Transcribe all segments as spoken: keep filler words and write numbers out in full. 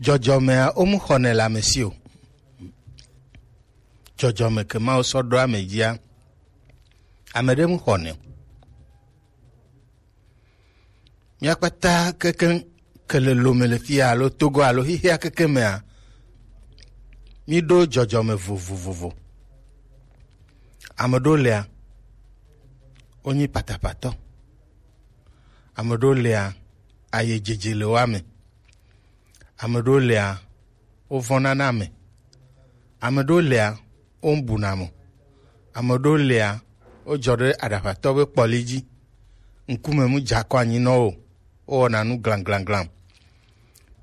Jɔjɔmɛa, womu xɔnɛ le ame si o. Jɔjɔme ke Mawu sɔ ɖo ame dzia, ame ɖe mu xɔnɛ o. Mía kpata kekeŋ ke le lome le fia alo Togo alo xixia kekeŋ mea, mí ɖo jɔjɔme vovovovo. Ame ɖewo lia, wonyi patapatɔ. Ame ɖewo lia, aye dzedze le wo ame. Ame ɖewo lia, wovɔ̃na na ame. Ame ɖewo lia, wobuna mo. Ame ɖewo lia, wodzɔ ɖe aɖaʋatɔ be kpɔli dzi. Ŋkume mu dza kɔ anyi nɔ wo. Wowɔna nu glanglanglan.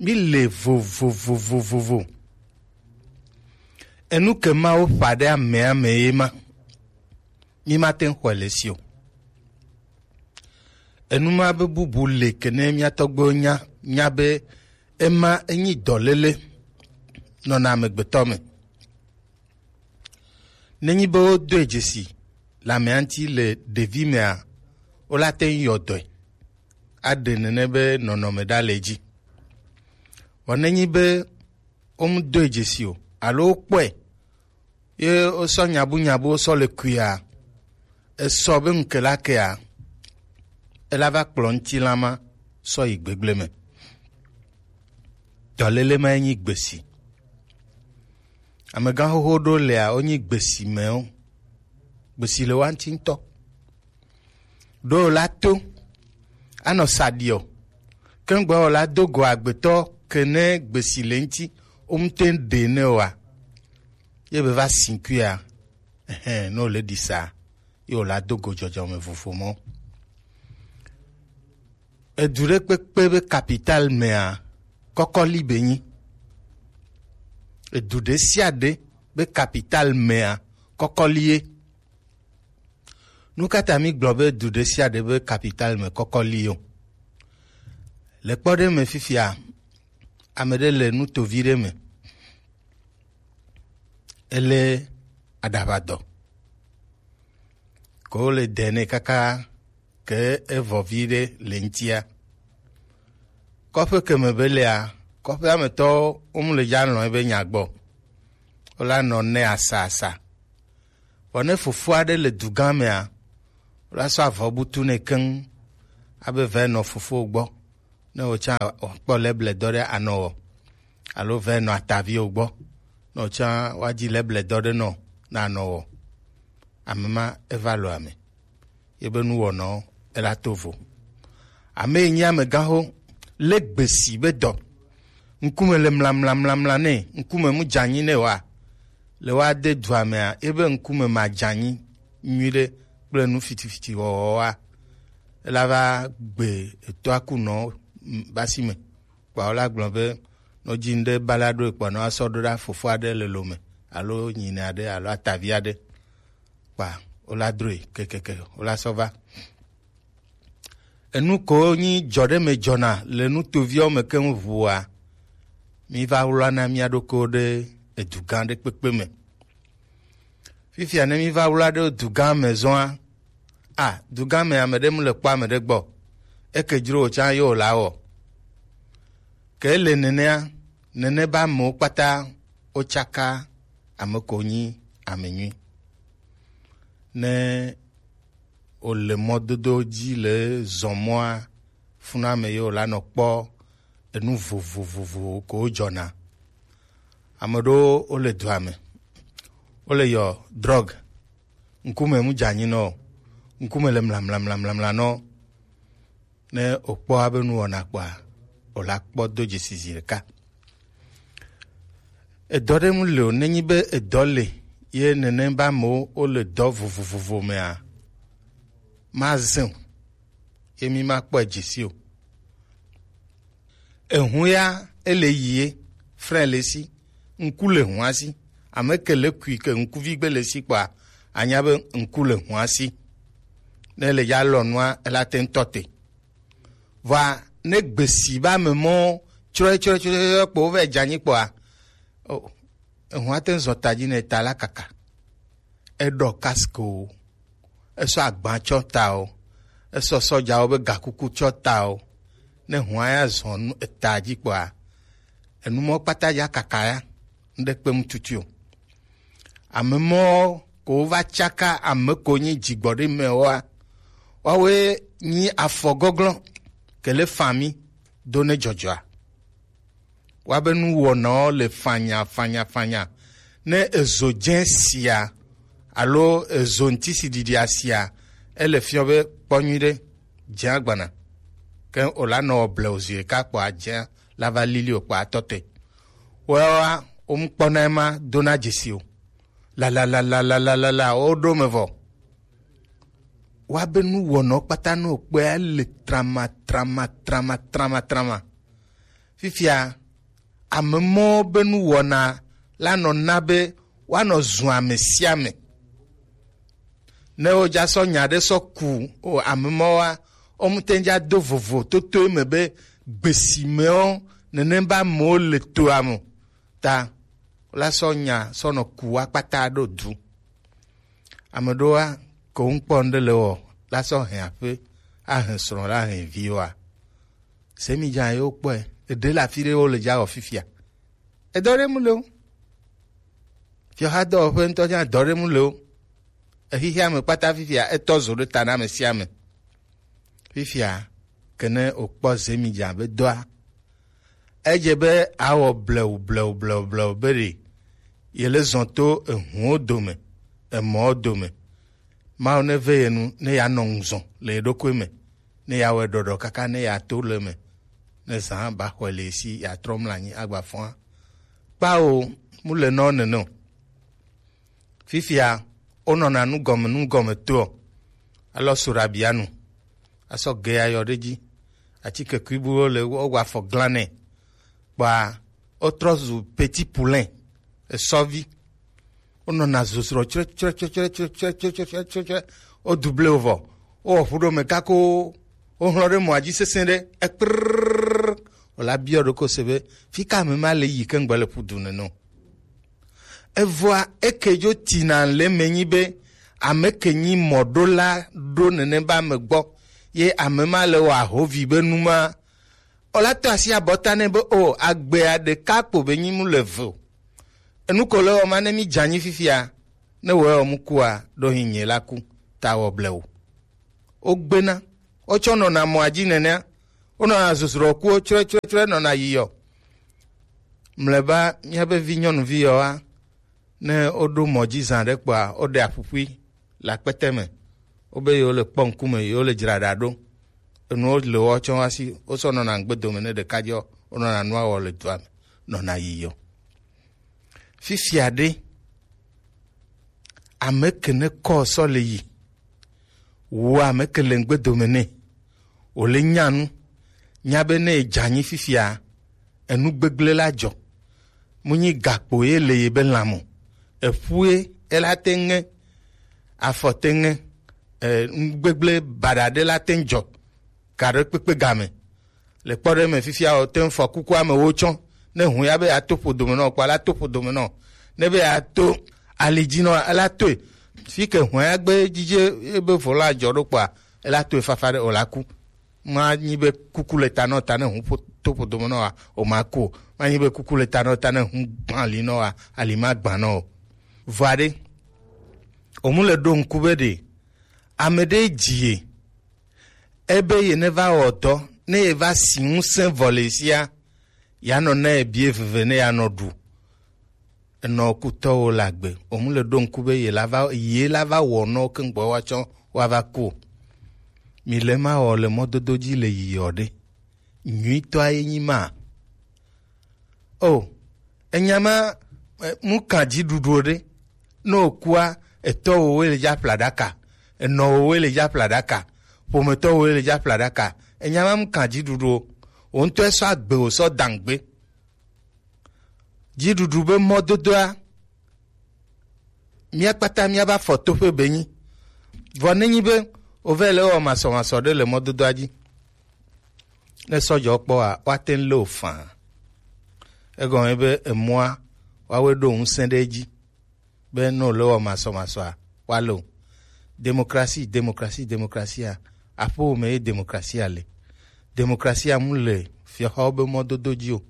Mí le vovovovovovo. Enu ke Mawu ƒa ɖe amea me ye ma. Mí mate ŋu xɔe le si o. Enu ma be bubu le ke ne mía tɔgbuiwo nya, nya be ema enyi dɔléle nɔna amegbetɔ me. Nenyi be wodoe dzesi le amea ŋuti le ɖevi mea, wola te ŋu yɔ dɔe aɖe nene be nɔnɔme ɖa le edzi. Vɔ nenyi be womedoe dzesi o alo wokpɔe ye wosɔ nyabunyabu wosɔ le kuia, esɔ be ŋke la kea, ela va kplɔ ŋutilã ma sɔ yi gbegble me. Dɔléle ma ye nyi gbesi. Amegã xoxo ɖewo lia, wonyi gbesi mewo. Gbesi le wa ŋuti ŋutɔ. Ɖo la to anɔ saɖi o. Ke ŋgbɔ la do go agbetɔ ke ne gbesi le ŋuti, wo ŋute ɖe ne oa, ye be va si kuia, ɛhɛn, ne wòle ɖi sa, ye wòla do go jɔjɔme vovo mɔ. Edu ɖe kpekpe be capital mea, kɔkɔli be nyi. Edu ɖe sia ɖe be capital mea, kɔkɔli ye. Nu ka ta mi gblɔ be du ɖe sia ɖe be capital me kɔkɔli o? Le kpɔ ɖe me fifia, ame ɖe le nutovi ɖe me. Ele aɖaʋadɔ. Ko le dɛ nɛ kaka ke evɔ vi ɖe le ŋutia. Kɔƒe ke me be lea, kɔƒea me tɔwo wo mu le dza lɔ̃ ebe nya gbɔ. Wola nɔ nɛ asa asa. Vɔ ne fofo aɖe le du gã mea, wola sɔ avɔ butu nɛ keŋ abe vɛ nɔ fofo gbɔ. Ne wòtsã wòakpɔ lɛblɛdɔ ɖe anɔ wɔ, alo vɛ nɔ ataviwo gbɔ, ne wòtsã woadzi lɛblɛdɔ ɖe nɔ na anɔ wɔ. Ame ma eva lo ame, ye be nuwɔnɔ ela to vo. Ame yi nyi amegãxo, le gbesi be dɔ, ŋkume le mlamlamlamla nɛ, ŋkume mu dzanyi nɛ wa, le wa de dua mea, ye be ŋkume ma dzanyi nyuiɖe kple nu fitifiti wɔwɔ wa, ela va gbe etɔa kunɔ basi me. Kpɔ wo la gblɔ be, nɔ dzi ŋɖe bala ɖo ekpɔ nɔ asɔ ɖo ɖa fofo aɖe le lome alo nyine aɖe alo atavi aɖe. Kpa wo la droe kekeke wo la sɔ va. Enu ko nyi dzɔ ɖe me dzɔna le nutoviawo me keŋ ʋua, mi va wlɔna mia ɖokuiwo ɖe edu gã ɖe kpekpe me. Fifia ne mi va wla ɖe du gã me zɔa, a, du gã me ame ɖe mu le kpɔ ame ɖe gbɔ, eke dzro wòtsã ye wòla wɔ. Ke le nenea, nene be amewo kpata wotsaka ame ko nyi ame nyui. Ne wòle mɔdodo dzi le zɔmɔa, funa ame ye wòla nɔ kpɔ enu vovovovo ko wòdzɔna. Ame ɖewo wole dua me, wole yɔ drɔg, ŋkume mu dze anyi nɔ, ŋkume le mlamlamlamlamla nɔ. Ne wòkpɔ abe nuwɔna kpɔa, wòla kpɔ do dzesi zi ɖeka. Edɔ ɖe mu le o, nenyi be edɔ le, ye nene be amewo wole dɔ vovovovo mea, mazẽ o, ye mi makpɔe dzesi o. Ehu ya ele yi ye, frein le si, ŋku le hua si. Ame ke le kui ke ŋkuvi gbe le si kpɔa, anya be ŋku le hua si. Ne le ya lɔ nua, ela te ŋutɔ te. Vɔa ne gbesi be ame mɔ tsrɔe tsrɔe tsrɔe tsrɔe kpo wovɛ dze anyi kpɔa, o, ehu ate ŋu zɔ ta dzi ne ta la kaka. Eɖɔ casque o, esɔ agba tsɔ ta o, esɔ sɔdzawo be gakuku tsɔ ta o. Ne hua ya zɔ nu eta dzi kpɔa, Enu mɔ kpata ya kaka ya, ŋɖe kpe mu tutu o. Ame mɔwo ko va tsaka ame ko nyi dzigbɔɖi mɛ woa, woawoe nyi afɔ gɔglɔ̃ ke le fami do ne dzɔdzɔa. Woabe nuwɔnawo le fanya fanya fanya. Ne ezo dze sia alo ezo ŋtisiɖiɖia sia, ele fiɔ be kpɔ nyuiɖe, dze agbana. Ke o la nɔ wɔ blewu zi ɖeka kpɔ adze la va lili o kpɔ atɔ te. Woawoa, womkpɔna ema dona dzesi o. Lalalalalala, woɖo me vɔ. Woabe nuwɔnɔ kpata no kpɔa le trama trama trama trama trama. Fifia, ame mɔwo be nuwɔna la nɔ na be woanɔ zu ame sia ame. Ne wodza sɔ nya ɖe sɔ ku o ame mɔwoa, womte ŋdza do vovo toto eme be gbesi mewo nenem be amewo le toa me o. Ta la sɔ nya sɔ nɔ ku wa kpata ɖo du. Ame ɖoa, ko ŋkpɔ ŋɖe le wɔ, la sɔ hɛn aƒe, ahɛn srɔ̃ la hɛn viwoa. Se mi dza yewo kpɔe, eɖe le afi ɖe wo le dza wɔ fifia. Edɔ ɖe mu le o. Fiɔha dɔwɔƒe ŋutɔ dza dɔ ɖe mu le o. Exixea me kpata fifia, etɔ zo ɖe ta na ame sia ame. Fifia, ke ne wòkpɔ Zemidza be dɔa, edze be awɔ blewu, blewu, blewu, blewu be ɖe yele zɔn to ehuwo dome, emɔwo dome. Mawu neve ye nu ne yeanɔ ŋuzɔn le ye ɖokui me, ne yeawɔe ɖɔɖɔ kaka ne yeato le eme, ne zã ba xɔe le ye si, yeatrɔ mlɔ anyi agba fɔa. Kpao, mu le nɔ nene o. Fifia, wonɔna nugɔme nugɔme toɔ, alɔ soɖabia nu, asɔ ge ayɔ ɖe dzi, atike kuibuwo le wo afɔ glan nɛ, kpɔa wotrɔ zu petit poulain, esɔvi. Wonɔna zozrɔ tsrɛ tsrɛ tsrɛ tsrɛ tsrɛ tsrɛ tsrɛ tsrɛ tsrɛ tsrɛ. Wodu ble wo vɔ, wowɔ ƒu ɖo me kako, wohlɔ ɖe mɔa dzi sesẽ ɖe, ekprrr, wòla biɔ ɖokɔ se be, fi ka ame ma le yi ke ŋgbe le ƒu du nene o. Evɔa eke dzo tina le me nyi be ame ke nyi mɔɖola ɖo nene be ame gbɔ ye ame ma le wɔ ahovi be nu ma, o la to asi abɔta nɛ be o agbea ɖeka kpo be nyi mu le ve o. Enu ko le wɔ ma ne mi dzanyi fifia ne wɔ mu kua ɖo hin nye la ku ta wɔ ble o. Wogbena, wotsɔ nɔna mɔa dzi nenea, wonɔna zuzrɔ kuwo tsrɔe tsrɔe tsrɔe nɔna yiyɔ. Mlɔeba, míabe vi nyɔnuvi yɔa, ne woɖo mɔ dzi zã ɖe kpɔa, woɖe aƒuƒui le akpete me. Wobe yewo le kpɔ ŋkume, yewo le dzra ɖa ɖo. Enuwo le woawo tsɔ woasi, wosɔ nɔna ŋgbe dome ne ɖeka dzɔ, wonɔna nua wɔ le dua me, nɔna yiyɔ. Fifia ɖe, ame ke ne kɔ sɔ le yi, wo ame ke le ŋgbe dome nɛ, wòle nya nu, nya be ne edze anyi fifia, enu gbegblẽ la dzɔ. Mu nyi gakpo ye le ye be lãme o. Eƒue ela te ŋe, afɔ te ŋe, e, nu gbegblẽ baɖa ɖe la te ŋ dzɔ. Ka ɖe kpekpe game. Le kpɔ ɖe me fifia o, te ŋ fɔ kuku amewo tsɔ. Ne hu ya be ato ƒo dome nɔ kpɔ, la to ƒo dome nɔ. Ne be ato ali dzi nɔ, ela toe. Fi ke hu ya gbe dzidze ebe vɔ la dzɔ ɖo kpɔa, ela toe fafa ɖe o la ku. Manyi be kuku le ta nɔ ta ne hu ƒo-, to ƒo dome nɔ wa, o ma ku o. Manyi be kuku le ta nɔ ta ne hu gbã ali nɔ wa, ali ma gbã nɔ o. Vɔa ɖe, o mu le ɖo ŋku be ɖe, ame ɖe dzi ye, ebe ye ne va wɔ dɔ, ne ye va si ŋusẽ vɔ le sia, ya nɔ ne ye bie veve ne ya nɔ ɖu. Enɔ kutɔwo le agbe. Wo mu le ɖo ŋku be ye la va, ye la va wɔ nɔ ke ŋgbɔ wa tsɔ wa va ku o. Mi le ma wɔ le mɔdodo dzi le yiyɔ ɖe. Nyuitɔa ye nyi ma. O, enya ma, e, mu kan dziɖuɖu ɖe. Ne o kua, etɔ wo le dza ƒla ɖaka, enɔ wo le dza ƒla ɖaka, ƒometɔ wo le dza ƒla ɖaka. Enya ma mu kan dziɖuɖu o. Wo ŋutɔ sɔ agbe wo sɔ dangbe. Dziɖuɖu be mɔdodoa, mía kpata mía va fɔ toƒe be nyi. Vɔ ne nyi be o vɛ le wɔ masɔmasɔ ɖe le mɔdodoa dzi. Ne sɔdzɔ kpɔ wa, wa te le o fã. Egɔme be emɔa, wa we ɖo ŋusẽ ɖe edzi. Be ne o le wɔ masɔmasɔa, wa le o. Demokrasi, demokrasi, demokrasia. Aƒewo me ye demokrasia le. Demokrasia mu le fiɔhawo be mɔdodo dzi o.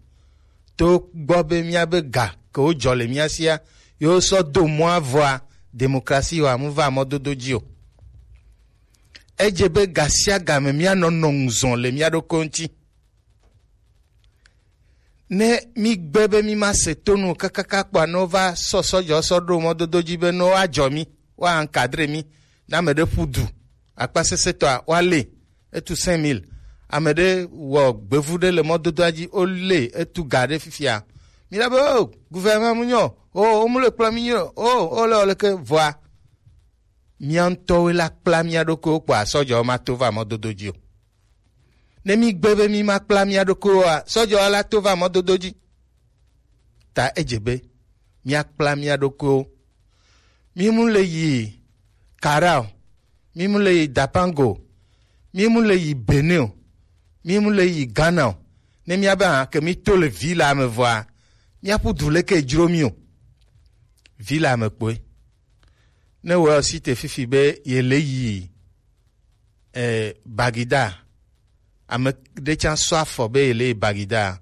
to gbɔ be míabe ga ke wojɔ le mía sia, yewo sɔ do mɔa vɔa, demokrasi wa mu va mɔdodo dzi o. Edze be gasiagame míanɔ nɔ ŋuzɔ le mía ɖokuiwo ŋuti. Ne mígbe be mímase tonu kakaka kpɔa, ne wova sɔ sɔdzɔ sɔ ɖo mɔdodo dzi be ne woadzɔ mí, woankadre mí, ne ame ɖe ƒu du akpasesẽtɔa, woalée, etu cinq mille. Ame ɖe wɔ gbevu ɖe le mɔdodoa dzi, wolée, etu ga ɖe fifia. Míla be, o, gouvernement mu nyɔ, o, wo mu le kplɔ mí nyɔ, o, o le, o leke vɔa. Mía ŋutɔwoe la kpla mía ɖokuiwo kpɔa, sɔdzɔwo mato va mɔdodo dzi o. Ne mígbe be mímakpla mía ɖokuiwoa, sɔdzɔwo la to va mɔdodo dzi. Ta edze be míakpla mía ɖokuiwo. Mí mu le yi Kara o, mí mu le yi Dapango o, mí mu le yi Benin o, mí mu le yi Ghana o. Ne míabe hã ke míto le vi la me vɔa, míaƒu du leke dzro mí o. Vi la me kpoe. Ne wɔ si te fifi be yele yi eh, Bagida. Ame ɖe tsã sɔ afɔ be yele yi Bagida.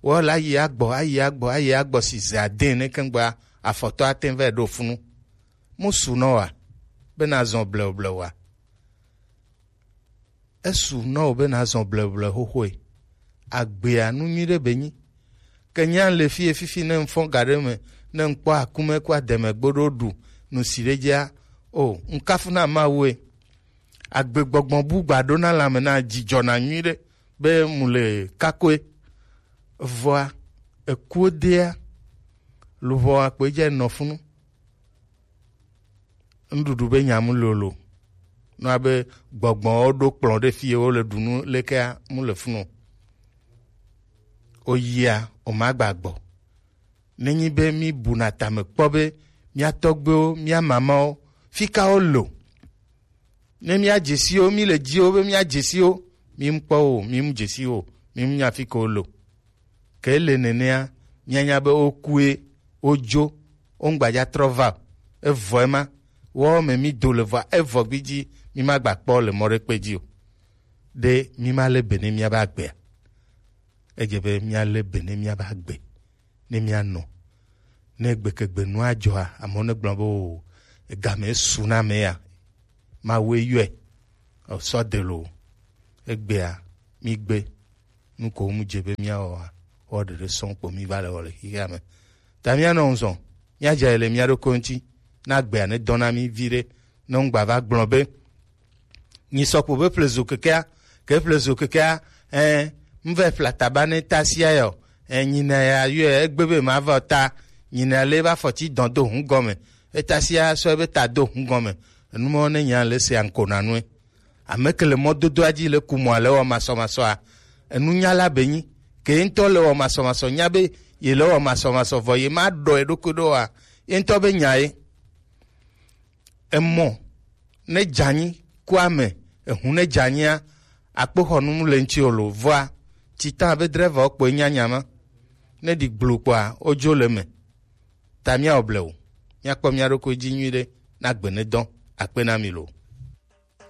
Wɔ la yi agbɔ, ayi agbɔ, ayi agbɔ si ze ade ne kengba afɔtɔ ate va ɖo funu. Mu su nɔ wa, be na zɔn blewu blewu wa. Esu nɔ wo be na zɔn blewu blewu xoxoe. Agbea nu nyui ɖe be nyi. Ke nya le fie fifi ne ŋfɔ ga ɖe me, ne ŋkpɔ akume ku ademe gboɖo ɖu nu si ɖe dzia, o, ŋkafu na Mawue. Agbegbɔgbɔ bu gba ɖo na lãme na dzidzɔ na nyui ɖe be mu le kakoe. Vɔa, ekuo dea, luʋɔ akpe dze nɔ funu. Nuɖuɖu be nya mu lolo. Nua be gbɔgbɔwo ɖo kplɔ̃ ɖe fie wo le ɖu nu lekea mu le funu. O yia, o ma gba gbɔ. Nenyi be mi buna tame kpɔ be mía tɔgbewo, mía mamawo, fika wo lo. Ne mía dzesiwo, mi le dziwo be mía dzesiwo, mi mu kpɔ wo, mi mu dzesiwo, mi mu nya fika wo lo. Ke ele nenea, míanya be wokue, wodzo, womgbaja trɔ va o. Evɔ ema, wɔwɔ me mí do le vɔa, evɔ gbidzi, mí ma gba kpɔ le mɔ ɖe kpe dzi o. Ɖe mí ma le be ne mía ba gbea? Edze be mía le be ne mía ba gbe, ne mía nɔ. Ne gbekegbe nua dzɔa, amewo ne gblɔ be o, egame su na ame ya. Mawue yɔe, o sɔ de lo. Egbea, mí gbe. Nu ko mu dze be míawɔa, wɔ ɖeɖe sɔŋ kpo mí va le wɔ le xexea me. Ta míanɔ ŋzɔn, míadze le mía ɖokui ŋuti, na gbea ne dɔna mí viɖe, ne ŋgba va gblɔ be, nyi sɔkpo be ƒle zo kekea, ke ƒle zo kekea, ɛ, ŋvɛ ƒle ataba ne tasia yɔ, ɛ, nyina ya yɔ, egbe be ma va ta, nyina le va fɔti dɔn do hun gɔme, etasia sɔ be ta do hun gɔme, enumɔ ne nya le se anko na nue. Ame ke le mɔdodoa dzi le ku mɔa le wɔ masɔmasɔa, enunyala be nyi. Ke ye ŋutɔ le wɔ masɔmasɔ nya be ye le wɔ masɔmasɔ vɔ ye ma ɖɔ ye ɖokui ɖo wa. Ye ŋutɔ be nya ye. Emɔ ne dzanyi ku ame, ehu ne dzanyia, akpoxɔnu le ŋuti o lo. Vɔa, titan be drɛvawo kpoe nya nya ma. Ne ɖi gblo kpoa, wodzo le me. Ta míawɔ blewu. Míakpɔ mía ɖokui dzi nyuiɖe, na gbe ne dɔn. Akpe na mi lo.